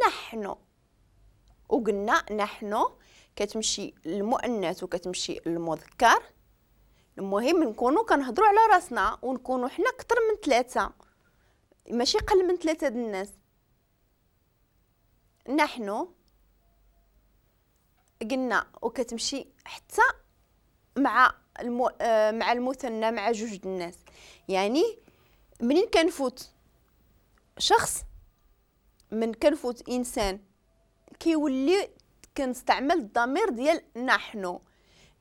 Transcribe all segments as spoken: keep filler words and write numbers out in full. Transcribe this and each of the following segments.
نحن. وقلنا نحن كتمشي المؤنث وكتمشي المذكر. المهم نكونوا كنهضروا على راسنا ونكونوا حنا اكثر من ثلاثة، ماشي قل من ثلاثة د الناس. نحن قلنا وكتمشي حتى مع المو... مع المثنى، مع جوج د الناس. يعني منين كنفوت شخص، من كنفوت انسان، كيولي كنستعمل الضمير ديال نحن.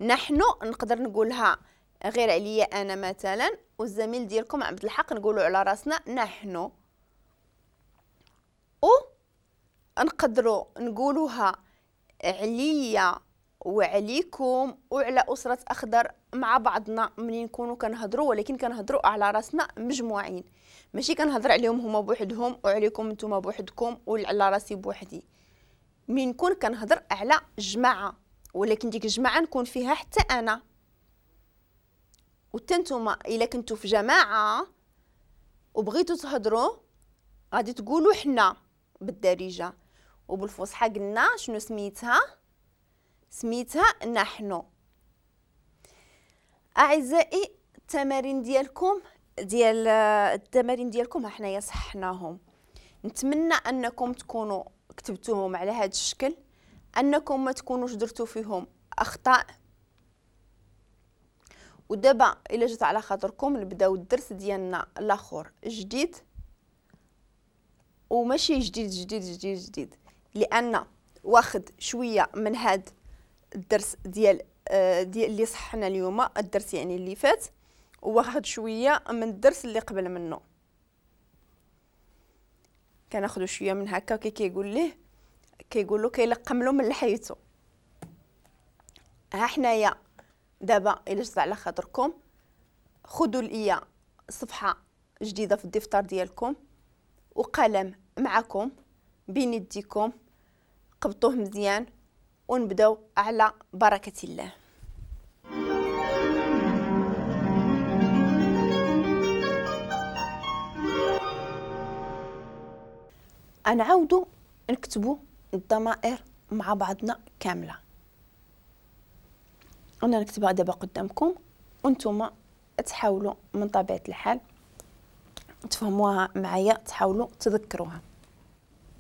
نحن نقدر نقولها غير عليا انا مثلا والزميل ديالكم عبد الحق، نقولوا على راسنا نحن. و نقدروا نقولوها عليا وعليكم وعلى أسرة أخضر مع بعضنا منين نكونوا كنهضروا، ولكن كنهضروا على راسنا مجموعين، ماشي كنهضر عليهم هما بوحدهم وعليكم نتوما بوحدكم وعلى راسي بوحدي. من نكون كنهضر على جماعة، ولكن ديك الجماعة نكون فيها حتى أنا وحتى نتوما. إلا كنتو في جماعة وبغيتو تهضروا غادي تقولوا حنا بالدارجة، وبالفصحى قلنا شنو سميتها؟ سميتها نحن. اعزائي التمارين ديالكم ديال التمارين ديالكم حنايا صحناهم. نتمنى انكم تكونوا كتبتوهم على هذا الشكل، انكم ما تكونوش درتو فيهم اخطاء. ودابا الا جات على خاطركم نبداو الدرس ديالنا الاخر جديد، وماشي جديد جديد جديد جديد، لان واخد شوية من هاد الدرس ديال ديال اللي صحنا اليوم، الدرس يعني اللي فات، وواخد شوية من الدرس اللي قبل منه. كناخذوا شوية من هكا، كي كيقول ليه كيقول له كيلقم له من لحيته. ها حنايا دابا الا جات على خاطركم خذوا ليا صفحة جديدة في الدفتر ديالكم وقلم معكم بين يديكم، قبطوه مزيان ونبداو على بركة الله. نعاودو نكتبو الضمائر مع بعضنا كاملة. انا نكتبها دابا قدامكم وانتم تحاولوا من طبيعة الحال تفهموها معايا، تحاولوا تذكروها.